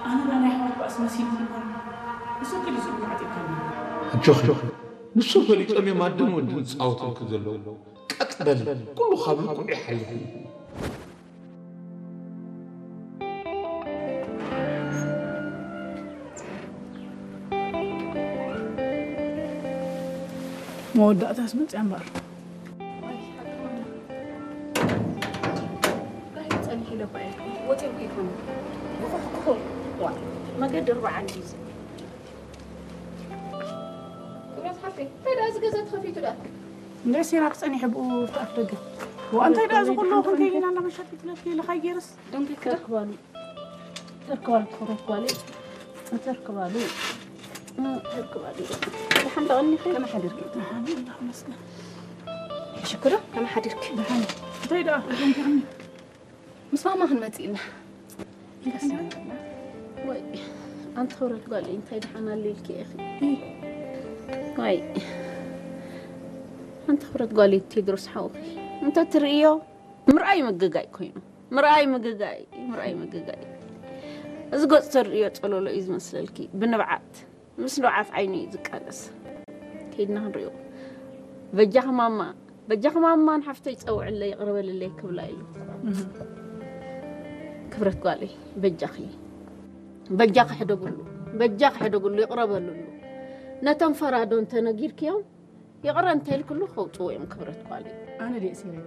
ኣነ ናይ ኣሕዋት ባእሲ መሲልኩ እኳ ንሱ ክሊ ዝብሉ ዓጢቕካኒ። ኣጆኺ፣ ንሱ ፈሊጦም እዮም ኣደን ወድን ዝጻወቱልኪ ዘለዉ። ቀጥ በሊ፣ ኩሉ ካብ ልክዑ ይሓይሽ። መወዳእታስ መጽያ እምበኣር። መገዲ ኣርባዓ እንዲዚ። ክብረት ሓፍተይ፣ እንታይ ደኣ እዚ ገዛ ተኸፊቱ ደኣ? እንደ ሴራክ ጸኒሐ ብኡ ኣብቲ ኣፍ ደገ። ዋ፣ እንታይ ደኣ እዚ ኩሉ ክንከይ ኢላ እንዳመሸት ትለኪ ኢልኻ ገይርስ? ደንጊ ክዳ? ተርክባሉ። ተርክባሉ፣ ክብረት ጓለይ። ተርክባሉ። ተርክባሉ። ደሓን ደቐኒ ከ? ከመይ ሓዲርኪ? ደሓን፣ ኣምላኽ ይመስገን። ሽኩር፣ ከመይ ሓዲርኪ? ደሓን። እንታይ ደኣ? ደንጊ ምስ ማማ ክንመጽእ ኢና። ወይ፣ ኣንቲ ክብረት ጓለይ፣ እንታይ ደሓን ኣለ ኢልኪ ኢኺ? ወይ፣ ኣንቲ ክብረት ጓለይ፣ ቴድሮስ ሓውኺ፣ እንተ ትርእዮ፣ ምርኣይ ምግጋይ ኮይኑ። ምርኣይ ምግጋይ፣ ምርኣይ ምግጋይ። እዚ ገጽ ተርእዮ ጸለሎ እዩ ዝመስለልኪ፣ ብንብዓት። ምስ ንብዓት ዓይኑ እዩ ዝቃለስ። ከይድና ክንሪኦ። በጃኺ ማማ፣ በጃኺ ማማ ንሓፍተይ ጸውዕለይ፣ ይቕረ በልለይ ክብላ ኢሉ። እህ። ክብረት ጓለይ፣ በጃኺ፣ በጃኺ ሕደጉሉ፣ በጃኺ ሕደጉሉ፣ ይቕረ በልሉ። ነቶም ፈራዶ እንተነጊርክዮም፣ ይቕረ እንተኢልክሉ ከውጽዎ እዮም ክብረት ጓለይ። ኣነ ድየ እሲረዮ?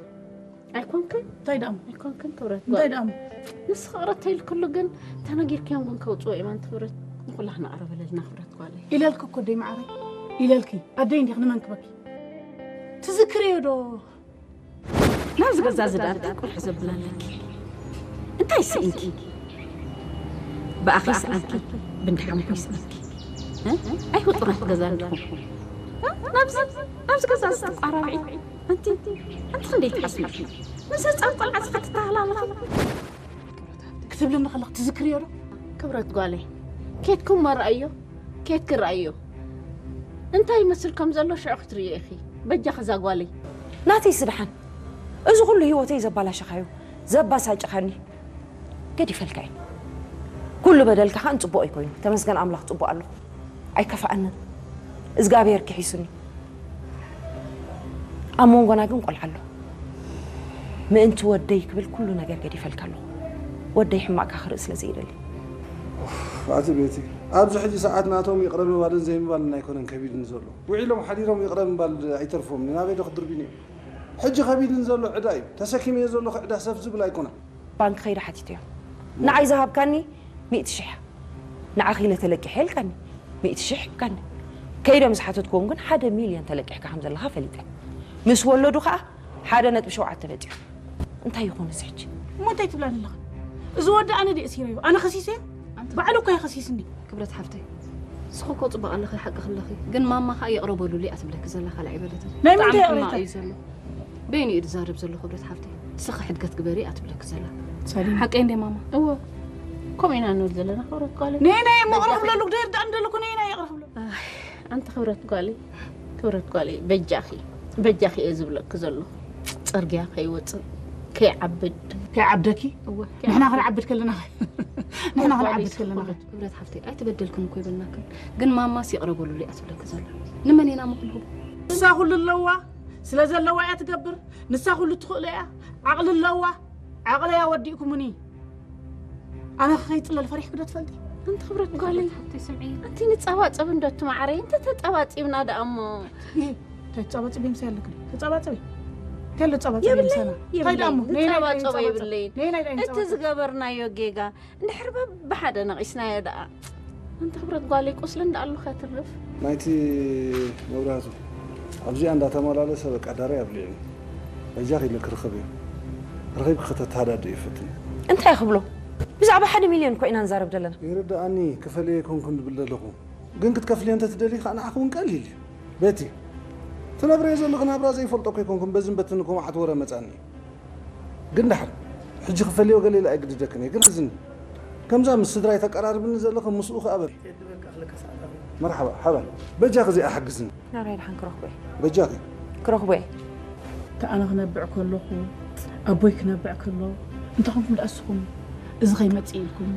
ኣይኮንክን። እንታይ ደኣ እሞ? ኣይኮንክን ክብረት እንታይ ጓል። ደኣ እሞ? ንስኺ ይቕረ እንተኢልክሉ ግን ተነጊርክዮም ግን ከውጽዎ እዮም ኣንቲ ክብረት። ንኹላህና ይቕረ በለልና ክብረት ጓለይ። ኢለልኪ እኮ ኣደይ መዓረይ። ኢለልኪ። ኣደይ እንዲኺ ንመን ክበኪ? ትዝክርዮ ዶ? ናብዚ ገዛ እዚ ደኣ እንታይ ቁርሒ ዘብል ኣለኪ? እንታይ ስኢንኪ? ብኣኺ ይስኣንኪ፣ ብእንዳ ሓሙኺ ይስኣንኪ። እ? ኣይፍጡራት ገዛ ኣለኹም። እ? ናብዚ፣ ናብዚ ገዛ እዚ ትቋራርዒ። ኣንቲ፣ ኣንቲ ክንደይ ትሓስቢ? ምስ ህጻን ቆልዓ እዚ ክትተሃላለኺ? ክትብልኒ ከለኺ ትዝክርዮ ዶ? ክብረት ጓለይ፣ ኬድኩም እሞ ረኣዮ፣ ኬድኪ ረኣዮ። እንታይ ይመስል ከም ዘሎ ሽዑ ክትርእዮ ኢኺ። በጃኺ እዛ ጓለይ። ናተይ ስድሓን፣ እዚ ኩሉ ህይወተይ ዘባላሸኻዮ፣ ዘባሳጭኻኒ፣ ገዲፈልካ እየ። ኩሉ በደልካ ኸኣ ንጽቡቕ እዩ ኮይኑ። ተመስገን ኣምላኽ ጽቡቕ ኣለኹ። ኣይከፍኣንን። እዝጋብሄር ክሒሱኒ። ኣብ መንጎና ግን ቆልዓ ኣሎ። ምእንቲ ወደይ ክብል ኩሉ ነገር ገዲፈልካ ኣለኹ። ወደይ ሕማቕካ ክርኢ ስለ ዘይደሊ። ኡፍ፣ ኣቲ ቤቲ፣ ኣብዚ ሕጂ ሰዓት ናቶም ይቕረ ምባልን ዘይምባልን ኣይኮነን ከቢድኒ ዘሎ። ውዒሎም ሓዲሮም ይቕረ ምባል ኣይተርፎምን። ናበይ ዶ ክድርብዩኒ እዮም? ሕጂ ከቢድኒ ዘሎ ዕዳ እዩ። ተሰኪመዮ ዘለኹ ዕዳ ሰፍ ዝብል ኣይኮነን። ባንክ ከይደ ሓቲተዮ። ንዓይ ዝሃብካኒ ሚእቲ ሽሕ። ንዓኺ ኢለ ተለቂሐ ኢልካኒ። ሚእቲ ሽሕ ሂብካኒ። ከይደ ምስ ሓተትክዎም ግን ሓደ ሚልዮን ተለቂሕካ ከም ዘለኻ ፈሊጠ። ምስ ወለዱ ኸኣ ሓደ ነጥቢ ሸውዓተ መጺኡ። እንታይ ይኾን እዚ ሕጂ? እሞ እንታይ ትብላኒ ኣለኻ? እዚ ወዲ ኣነ ድየ እሲረዮ? ኣነ ከሲሰዮ? ኣንቲ ባዕሉ እኮ እዩ ከሲስኒ። ክብረት ሓፍተይ፣ ንስኺ እኮ ጽቡቕ ኣለኺ፣ ሓቅኺ ኣለኺ። ግን ማማ ኸኣ ይቕረ በሉለይ እያ ትብለኪ ዘላ፣ ካልእ ኣይበለትን። ናይ ምንታይ ብጣዕሚ ይቕሬታ? ሕማቕ እዩ ዘሎ። በይኑ እዩ ዝዛረብ ዘሎ ክብረት ሓፍተይ። ንስኺ ሕድገት ግበሪ እያ ትብለኪ ዘላ። ሰሊም። ሓቀይ እንደ ማማ? እወ። ከምኡ ኢና ንብል ዘለና ክብረት ጓለይ። ነይ፣ ነይ፣ እሞ ይቕረ ክብለሉ፣ ክደይር ደኣ እንደለኩ፣ ነይ፣ ነይ፣ ይቕረ ክብለሉ። ኣይ፣ ኣንቲ ክብረት ጓለይ፣ ክብረት ጓለይ፣ በጃኺ፣ በጃኺ እየ ዝብለኪ ዘለኹ። ጽርግያ ከይወጽእ፣ ከይዓብድ። ከይዓብደኪ? እወ፣ ንሕና ከይዓብድ። ክንዓብድ ከለና፣ ንሕና ክንዓብድ ከለና። ክብረት ሓፍተይ፣ ኣይተበደልክን እኮ ይበልናክን። ግን ማማስ ይቕረ በሉለይ እያ ትብለኪ ዘላ። ንመን ኢና እሞ ክንህቦ? ንሳ ኩሉ ኣለዋ፣ ስለ ዘለዋ እያ ትገብር። ንሳ ኩሉ ትኽእሎ እያ፣ ዓቕሊ ኣለዋ። ዓቕለያ ወዲእኩምኒ። ኣነ ከይጽለል ፈሪሕኪ ዶ ትፈልጢ? ኣንቲ ክብረት ጓለይ፣ ሓፍተይ ስምዒ። ኣንቲ ንጸባጸብ እንዶ ትማዓረይ፣ እንተ ተጸባጺብና ደኣ እሞ። ይሄ፣ እንታይ ትጸባጸቢ ምሳይ ኣለክ? ተጸባጸቢ። እንታይ ኣሎ ተጸባጸቢ የብለይ፣ ምሳና? እንታይ የብለይ። ደኣ እሞ? ነይ፣ ነይ፣ ነይ፣ ንጸባጸቦ ጸባጸብ። የብለይን። ነይ፣ ነይ፣ ነይ፣ እቲ ጸባጸብ። ዝገበርናዮ ጌጋ እንድሕር በብሓደ ነቒስናዮ ደኣ። ኣንቲ ክብረት ጓለይ፣ ቁስሊ እንዳ ኣሉ ከትርፍ። ናይቲ መብራህቱ ኣብዚኣ እንዳተመላለሰ በቃ ዳራይ ኣብሊዑኒ። በጃኺ ኢለ ክርኽብ እየ። ረኺብኪ ከተተሃዳድእዮ ፈትኒ። እንታይ ክብሎ? ብዛዕባ ሓደ ሚልዮን እኮ ኢና ንዛረብ ዘለና። ይርድኣኒ፣ ክፈልዮ ኣይኮንኩን ዝብል ዘለኹ። ግን ክትከፍልዮ እንተትደልዪ ከኣ ንዓኺ እውን ቀሊል እዩ። ቤቲ፣ ትነብርዮ ዘለኺ ናብራ ዘይፈልጦ እኮ ኣይኮንኩን፣ በዝን በትን እኮ መዓት ወረ መጻኒ። ግን ደሓን፣ ሕጂ ክፈልዮ ገለ ኢለ ኣይግድደክን እየ፣ ግን ሕዝኒ። ከምዛ ምስ ስድራይ ተቀራርብኒ ዘለኺ ምስኡ ከኣ በል። መርሓባ፣ ሓባል። በጃኺ እዚኣ ሓግዝኒ። ናብራይ ደሓን ክረኽቦ እየ። በጃኺ። ክረኽቦ እየ። እታ ኣነ ክነብዕ ከለኹ፣ ኣቦይ ክነብዕ ከሎ፣ እንታይ ኮንኩም ደኣ እስኹም? እዚ ከይመጽእ ኢልኩም